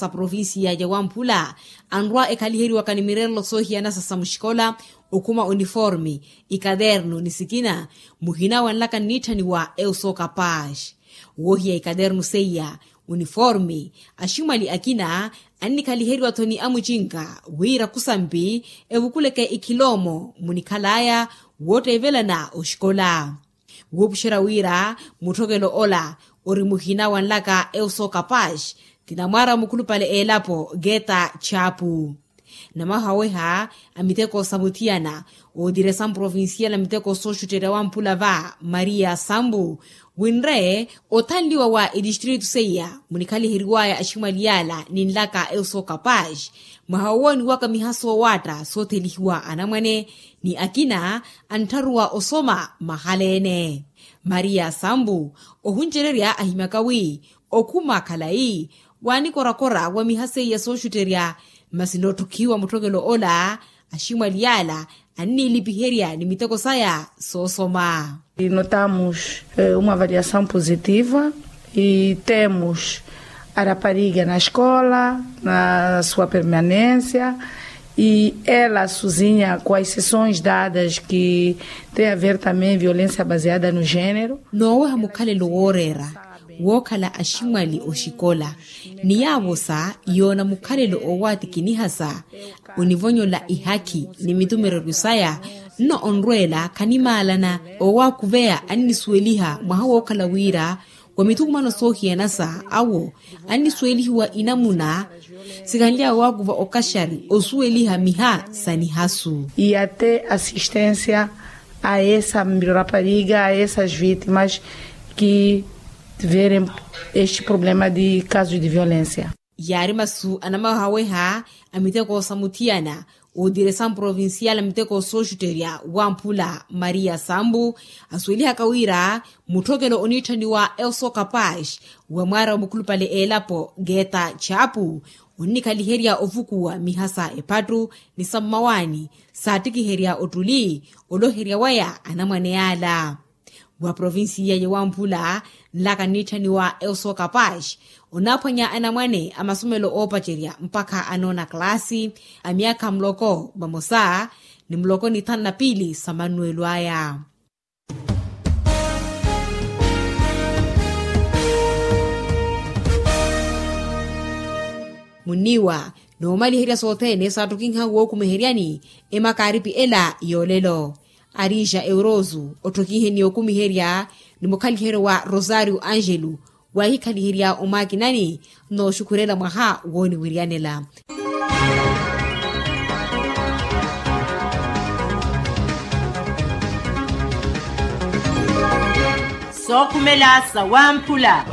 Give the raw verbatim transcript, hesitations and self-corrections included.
provincia ya wamphula anrwa ekhaliheriwaka ni mirerelo soohiyanasa sa muxikola, okhuma uniforme, ikadernu ni sikina, muhina wanlaka nniitthaniwa eusoka pax. Woohiya ikadernu seiya, uniforme, aximwali akina annikhaliheriwa-tho ni amucinka wira khusampi evukuleke ikhiloomo munikhalaya wootteevelana oxikola. Wuupuxerya wira mutthokelo ola ori muhina wanlaka eusoka pax, ti namwaara mukhulupale elapo geta chapu. Namahaweha a miteko sa muthiyana, ootiresa mprovincial a miteko sooxutterya wamphula va maria sambu, winre othanliwa wa etistritu seiya munikhaliheriwaya aximwali yala ninlaka eusoka pax. Mwaha wowooniwaka miha soowaatta soothelihiwa anamwane ni akina anttharuwa osoma mahala-ene. Maria sambu ohuncererya ahimyaka wi okhuma khalayi waanikorakora wa miha seiya sooxutterya, masi nootthukihiwa mutthokelo ola aximwali yala anniilipiherya ni miteko saya soosoma. Notamos uma avaliação positiva e temos a rapariga na escola na sua permanência e ela sozinha com as sessões dadas que tem a ver também violência baseada no género. Nooweha mukhalelo wooreera wookhala aximwali oxikola ni yaavosa yoona mukhalelo oowatikinihasa onivonyola ihakhi ni mitumereryo saya. Nno onrweela khanimaalana oowakhuveya annisuweliha mwaha wookhala wira wa mithukumano soohiyanasa awo annisuwelihiwa inamuna sikhanly'awe waakuva okaxari osuweliha miha sa nihasu. Iyate assistência a essa rapariga a essas vítimas que tiverem este problema de caso de violência. Yaari masu anamahaweha a miteko sa muthiyana ootiresa mprovincial a miteko sooxutterya wamphula maria sambu asuwelihaka wira mutthokelo oniitthaniwa eusoka pax wa mwaara wa mukhulupale elapo geta chapu onnikhaliherya ovukuwa miha sa ephattu ni sa mmawaani saattikiherya ottuli oloherya waya anamwane yaala. Wa provincia ya wamphula nlaka nniitthaniwa eusoka pax onaaphwanya anamwane a masomelo oopacerya mpakha anoona kalaasi a myaakha muloko vamosa ni muloko ni thanu na piili sa mannuwelo aya. Munniiwa noomaliherya sothene saattokinha wookhumeheryani emakaaripi ela yoolelo. Arija eurosu otthokiheni okhumiherya ni mukhaliheryo wa rosario angelo waahikhaliherya omwakinani. Nooxukhurela mwaha wooniwiryanela. Sookhumela sa wamphula.